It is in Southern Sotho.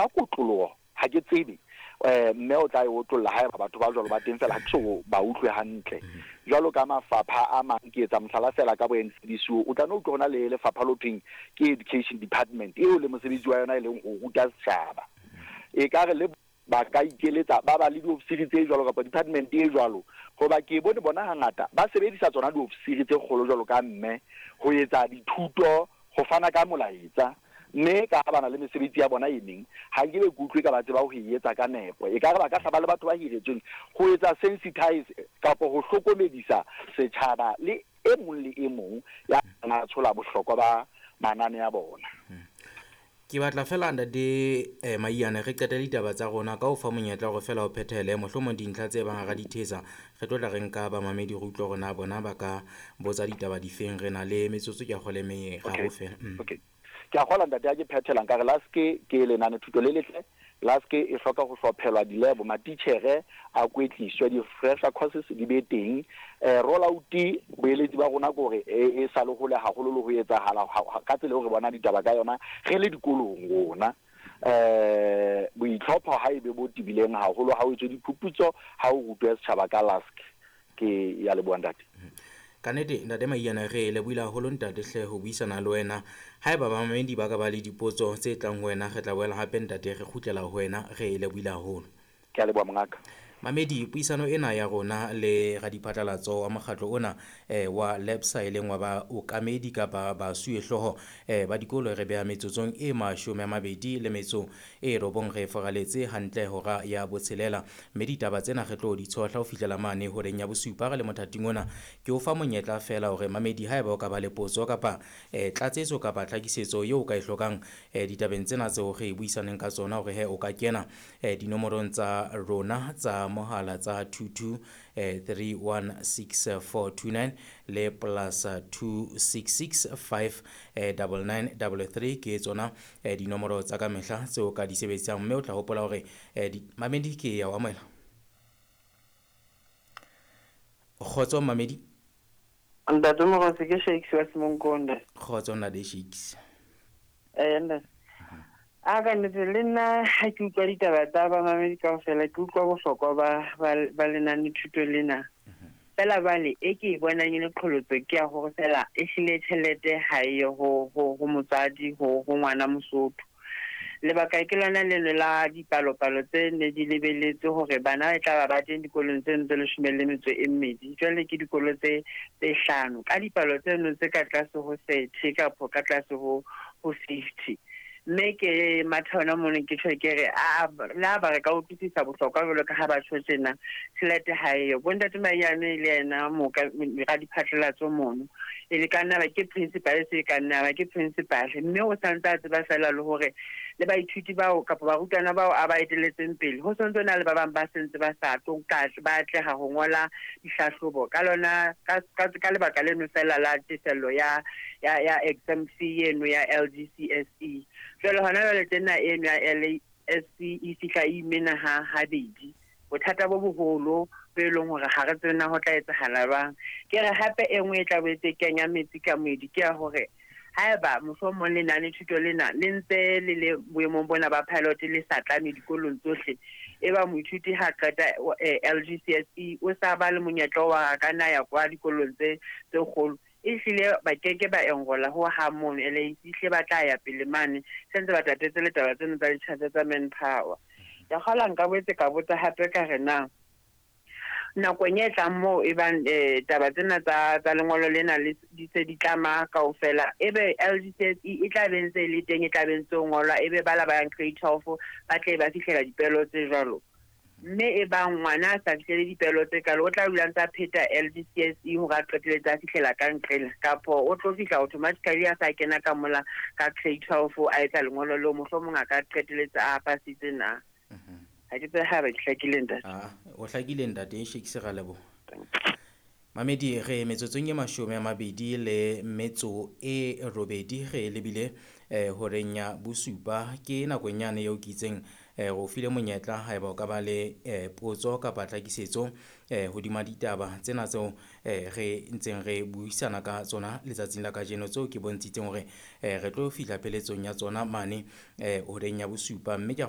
Ka kotloloho ha ke tsebe mme o tla e otlolla haeba batho ba jwalo ba teng, fela ha ke so ba utlwe hantle. Jwalo ka mafapha a mang, ke etsa mohlala fela ka bo NCDCO, o tla no utlwa hona le lefapha lo thweng ke education department, eo le mosebetsi wa yona e leng ho ruta setjhaba. E ka re le ba ka ikeletsa ba ba le diofisiri tse jwalo kapa department e jwalo, hoba ke bone bona hangata ba sebedisa tsona diofisiri tse kgolo jwalo ka mme ho etsa dithuto, ho fana ka molaetsa. Mme ka ha ba na le mesebetsi ya bona e meng, ha nkebe ke utlwe ka ba tseba ho e etsa ka nepo. E ka re ba ka hla ba le batho ba hiretsweng ho etsa sensitize kapa ho hlokomedisa setjhaba le e mong le e mong ya na tshola bohlokwa ba manane a bona. Ke batla fela ntate Maiyane re qete ditaba tsa rona ka ho fa monyetla hore fela o phethele mohlomong dintlha tse bang hara di thetsa. Re tlo tla re nka bamamedi re utlwe hore na bona ba ka botsa ditaba difeng. Re na le metsotso ke a kgolwa e meraro fela. Okay. Ke a kgola ntate ha ke phethela nkare LASC ke lenane thuto le letle. LASC e hloka ho hlophelwa dilebo, matitjhere a kwetliswe, di-refresher courses di be teng. Roll out, boeletsi ba rona ke hore e sa le hole haholo le ho etsahala ka tsela eo re bona ditaba ka yona re le dikolong rona. Boitlhopho ha e be bo tebileng haholo ha o etswe diphuputso, ha o rutwe setjhaba ka LASC. Ke ya leboha ntate. Ka nnete ntate Maiyane re lebohile haholo ntate hle ho buisana le wena. Haeba bamamedi ba ka ba le dipotso tse tlang ho wena, re tla boela hape ntate re kgutlela ho wena. Re lebohile haholo. Ke a leboha mongaka. Mamedi, puisano ena ya rona le radiphatlalatso wa mokgatlo ona wa LEPSA e leng wa baokamedi kapa basuwehlooho ba dikolo, re beha metsotsong e 29 re foraletse hantle hora ya botshelela. Mme ditaba tsena re tlo di tshohla ho fihlela mane horeng ya bosupa re le mothating ona. Ke o fa monyetla fela hore mamedi haeba o ka ba le potso kapa tlatsetso kapa tlhakisetso eo o ka e hlokang ditabeng tsena tseo re buisaneng ka tsona, hore he o ka kena dinomorong tsa rona tsa mohala tsa 22 316429 le plus 266 5 99 33 ke tsona dinomoro tsa ka mehla tseo ka di sebedisang. Mme o tla hopola hore mamedi ke ya o amohela. Kgotso mamedi. Ntate Mogotsi, ke Shakes wa Semonkonda. Kgotso ntate Shakes. Ntate. A ka nnete le nna ha ke utlwa ditaba tsa bamamedi kaofela, ke utlwa bohlokwa ba lenane thuto lena. Fela bale e ke e bonang e le qholotso ke ya hore fela e hlile tjhelete ha e ye ho motswadi, ho ngwana Mosotho. Lebaka ke lona leno la dipalopalo tse ne di lebeletse hore bana e tla ba ba teng dikolong tseno tse 12. Jwale ke dikolo tse 5 ka dipalo tseno tse ka tlase ho 30 kapa ka tlase ho 50. Mme ke matha hona mono ke tjho ke re, a la ba re ka utlwisisa bohlokwa jwalo ka ha ba tjho tjena, tjhelete ha eyo. Bontate Maiyane le yena moka radiphatlalatso mono, e le ka nna ba ke principal, se ka nna ba ke principal, mme o santse a tseba fela le hore le baithuti bao kapa barutwana bao a ba eteletseng pele, ho santse na le ba bang ba sentse ba sa tlo ka ba atleha ho ngola dihlahlobo ka lona ka lebaka leno fela la tefello ya exam fee eno ya LGCSE. Jwale hona jwale tena eno ya LASC e fihla e imena ha habedi. Bothata bo boholo bo e leng hore ha re tsebe na ho tla etsahala jwang. Ke re hape e nngwe e tla boetse e kenya metsi ka moedi ke ya hore haeba mohlomong lenane thuto lena le ntse le le boemong bona ba pilot le sa tlame dikolong tsohle, e ba moithuti ha qeta LGCSE o sa ba le monyetla wa ka na ya kwa dikolong tse kgolo, e hlile ba keke ba enrola ho ha mono LAC, hlile ba tla ya pele mane sentse ba tatetse le taba tseno tsa ditjhelete tsa manpower. Ya kgola nka boetse ka botsa hape ka re na nakong e tlang moo e bang taba tsena tsa lengolo lena le di se di tlama kaofela, ebe LGCSE e tla be ntse e le teng, e tla be ntse o ngolwa, ebe ba la ba yang grade 12 ba tle ba fihlela dipelo tse jwalo. Mme e bang ngwana a sa fihlele dipelo tse kalo, o tla dula ntse a pheta LGCSE hore a qetelletse a fihlela ka nqela, kapo o tlo fihla automatically a sa kena ka mola ka grade 12 a etsa lengolo leo, mohlomong a ka qetelletse a pasitse na. Ha ke tsebe ha ba ke hlakile ntate. O hlakile ntate, Shakes, ra leboha. Mamedi, re metsotsong e 28 re lebile horeng ya bosupa. Ke nakong yane eo ke itseng re o file monyetla haeba o ka ba le potso kapa tlhakisetso hodima ditaba tsena tseo re ntseng re buisana ka tsona letsatsing la kajeno, tseo ke bontshitseng hore re tlo fihla pheletsong ya tsona mane horeng ya bosupa. Mme ke a